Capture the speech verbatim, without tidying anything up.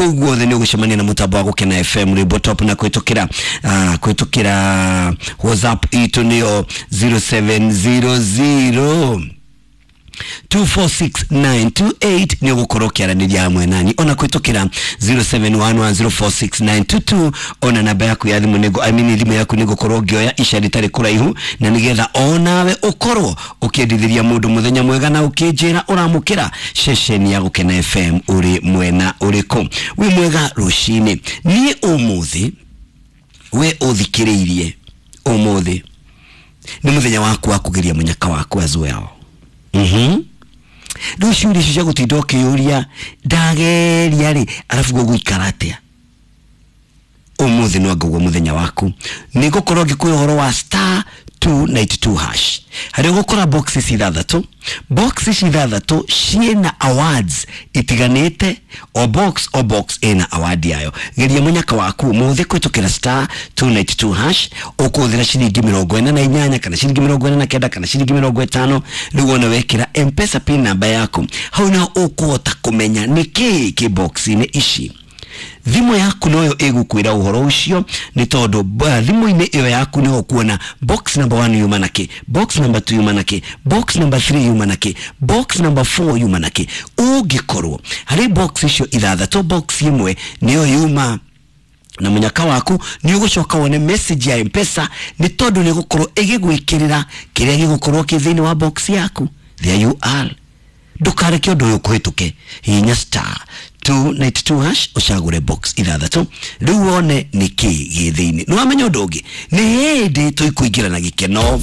Kũu guothe nĩ ũgũcemania na mũtambo wa Gũkena F M rwĩmbo top, na kũhĩtũkĩra, ah, kũhĩtũkĩra WhatsApp itũ nĩyo zero seven zero zero two four six nine two eight nĩ ũgũkorwo ũkĩaranĩria hamwe nani, ona kũhĩtũkĩra zero seven one one zero four six nine two two, ona namba yaku ya thimũ nĩngũ, I mean thimũ yaku nĩngũkorwo ngĩoya ica rĩtarĩ kũraihu, na nĩgetha onawe ũkorwo ũkĩendithĩria mũndũ mũthenya mwega na ũkĩnjĩra ũramũkĩra ceceni ya Gũkena F M ũrĩ mwena ũrĩkũ. Wĩ mwega rũcinĩ. Niĩ ũmũthĩ we ũthikĩrĩirie ũmũthĩ nĩ mũthenya waku wa kũgeria mũnyaka waku as well. Mhm. Rĩu ciũria icio cia gũtinda ũkĩyũria ndageria rĩ, arabu gũgũikara atĩa? Ũmũthĩ no ngaguo mũthenya waku. Nĩ ngũkorwo ngĩkũhe ũhoro wa star two ninety two hash. Harĩa ũgũkora boxes ithathatũ. Boxes ithathatũ ciĩna awards itiganĩte, o box o box ĩna award yayo. Geria mũnyaka waku mũthĩ kũhĩtũkĩra star two ninety two hash, ũkũhũthĩra ciringi mĩrongo ĩna na inyanya kana ciringi mĩrongo ĩna na kenda kana ciringi mĩrongo ĩtano. Rĩu wona wekĩra M-Pesa pin namba yaku, hau nĩho ũkũhota kũmenya nĩkĩĩ kĩ box-inĩ ici. Thimũ yaku noyo ĩgũkwĩra ũhoro ũcio, nĩ tondũ ba-, thimũ-inĩ ĩyo yaku nĩho ũkuona box number one yuma na kĩ, box number two yuma na kĩ, box number three yuma na kĩ, box number four yuma na kĩ. Ũngĩkorwo harĩ box icio ithathatũ, box ĩmwe nĩyo yuma na mũnyaka waku, nĩ ũgũcoka wone message ya M-Pesa, nĩ tondũ nĩ ĩgũkorwo ĩgĩgwĩkĩrĩra kĩrĩa gĩgũkorwo kĩ thĩinĩ wa box yaku. There you are. Ndũkareke ũndũ ũyũ ũkũhĩtũke. Hihinya star two ninety two hash ũcagũre box ithathatũ, rĩu wone nĩkĩ gĩ thĩinĩ. Nĩ wamenya ũndũ ũngĩ, nĩ hĩndĩ tũikũingĩra na gĩkeno.